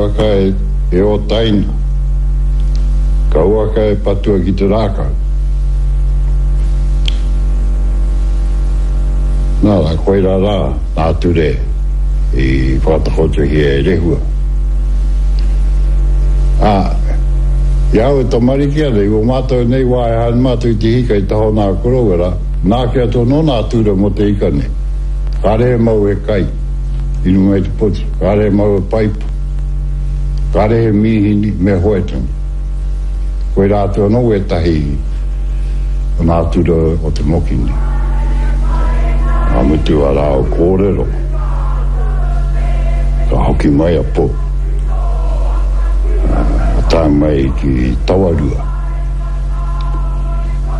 Kauaka e, e ōtaina. Kauaka e patua ki te rākau. Nā rā, koirā rā nā ture i whakatakotohia e Rehua. Ā, i a au e tamariki ana, i ō mātou nei wā e haere mātou i te hika i taha o nā koroua rā, nāke atu anō nā ture mō te ika nei. Kāre e mau he kai i runga i te poti, kāre e mau he paipa, kāre he mīhini, me hoe tonu. Koirā atu anō wētahi o nā ture o te moki nei. Ka mutu a rāua kōrero, ka hoki mai a Pou, ka tae mai ki Tawarua,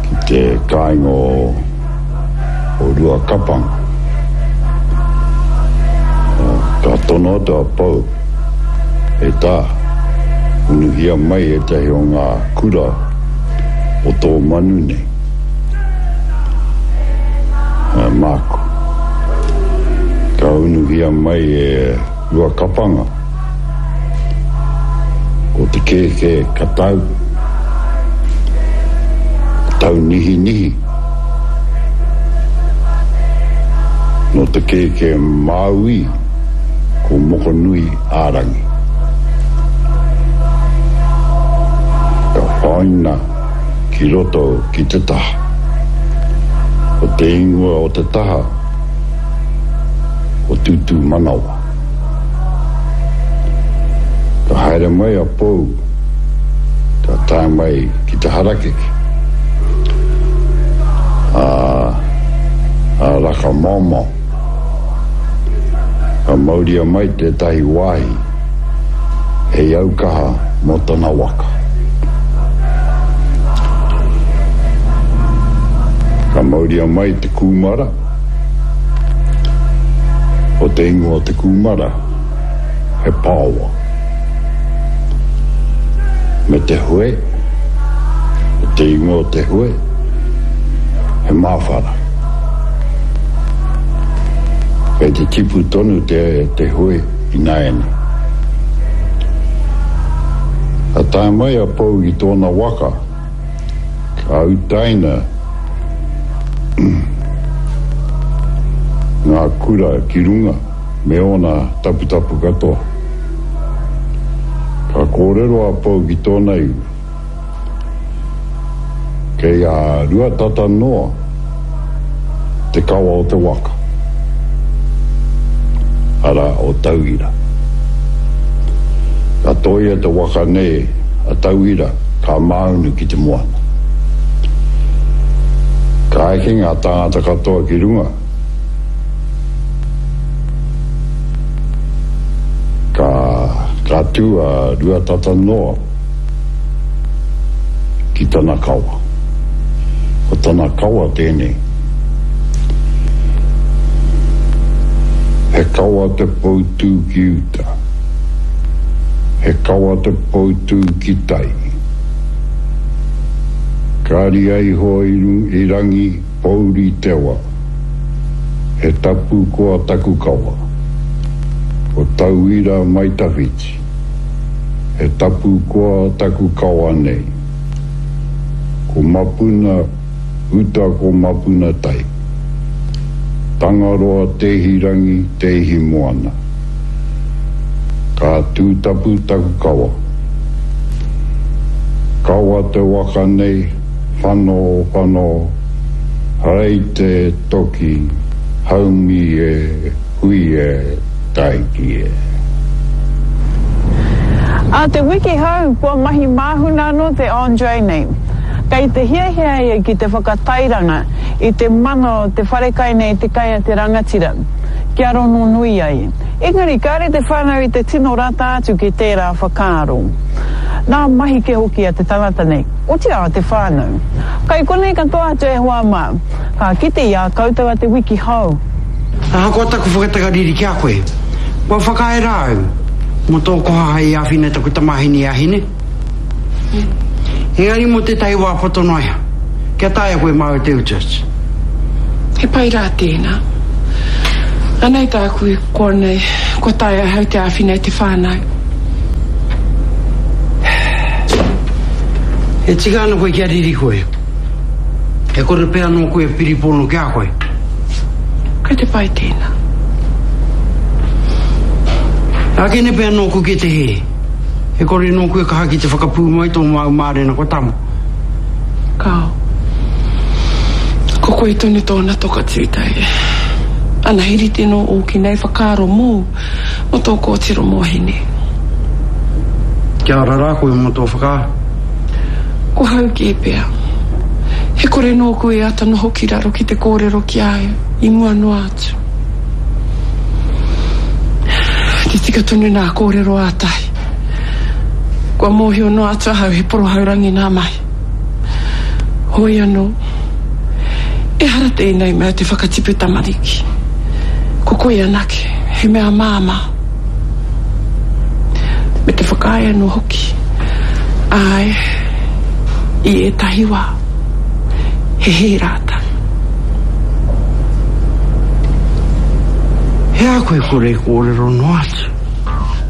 ki te kāinga o o Ruakapanga. Ka tono atu a Pou, E tā, unuhia mai ētahi o ngā kura o tō manu nei. Māku. Ka unuhia mai e Ruakapanga. Ko te kēkē katau, taunihinihi. Nō te kēkē Māui, ko Mokonui ā-rangi. Ka whaina ki roto ki te taha. Ko te ingoa o te taha, ko Tūtūmanawa. Ka haere mai a Pou, ka tae mai ki te harakeke, a, a Raka-maomao. Ka mauria mai tētahi wāhi hei aukaha mō tana waka. Ka mauria mai te kūmara. Ko te ingoa o te kūmara, he paowa. Me te hoe, ko te ingoa o te hoe, he māwhara. Kei te tipu tonu te, te hoe ināianei. Ka tae mai a Pou i tōna waka, Ka utaina ngā kura ki runga me ōna taputapu katoa. Ka kōrero a Pou ki tōna iwi, Kei a Ruatata noa te kawa o te waka, arā, o Tauira. Ka tōia te waka nei a Tauira ka māunu ki te moana. Ka eke ngā tāngata katoa ki runga, ka, ka tū a Ruatata noa ki tana kawa. Ko tana kawa tēnei. He kawa te poutū ki uta. He kawa te poutū ki tai. Ka ria iho i rangi pouri te wa. He tapu koa taku kawa. Ko tauira mai tawhiti. He tapu koa taku kawa nei. Ko Mapuna uta ko Mapuna tai. Tangaroa te ihi rangi te ihi moana. Ka tūtapu taku kawa. Kawa te waka nei, whano, whano, rei te toki, haumi e, hui e, taiki e. Ā te wiki hou, kua mahi māhuna anō te Andre nei. Kei te hiahia ia ki te whakatairanga i te mana o te wharekai nei te kai a te rangatira, kia rongonui ai. Engari kāre te whānau i te tino rata atu ki tērā whakaaro. Nā mahi kē hoki a te tangata nei, otirā a te whānau. Kai konei katoa atu e hoa mā, ka kite i a koutou a te wiki hou. Ahakoa taku whakatakariri ki a koe, kua whakaae rā au mō tō koha hei āwhina i taku tamāhine i a Hine. Engari mō tētahi wā poto noa iho, kia taea koe māu te utu atu. He pai rā tēnā. Anei tāku i koa nei, kua taea ahau te āwhina i te whānau. E tika ana koe kia riri koe. E kore pea nōku e piripono ki a koe. Kei te pai tēnā. Ākene pea nōku ki te hē. E kore nōku e kaha ki te whakapūmau i tō māu mārena kua tama. Kāo. Ko koe tonu tōna toka tūtei. Ana he rite nō ōki nei whakaaro mōu, mō tō kōtiro mō Hine. Kia ora rā koe mō tō whakaaro. Ko hau kē pea. He kore nōku e ata noho ki raro ki te kōrero ki a au i mua noa atu. Te tika tonu nā kōrero a Tahi. Kua mōhio noa atu ahau he porohaurangi nā mahi. Hoi anō, ehara tēnei mea te whakatipu tamariki. Ko koe anake, he mea māmā. Me te whakaae anō hoki, āe, i ētahi wā, he hē rātou. He aha koe kore i kōrero noa atu?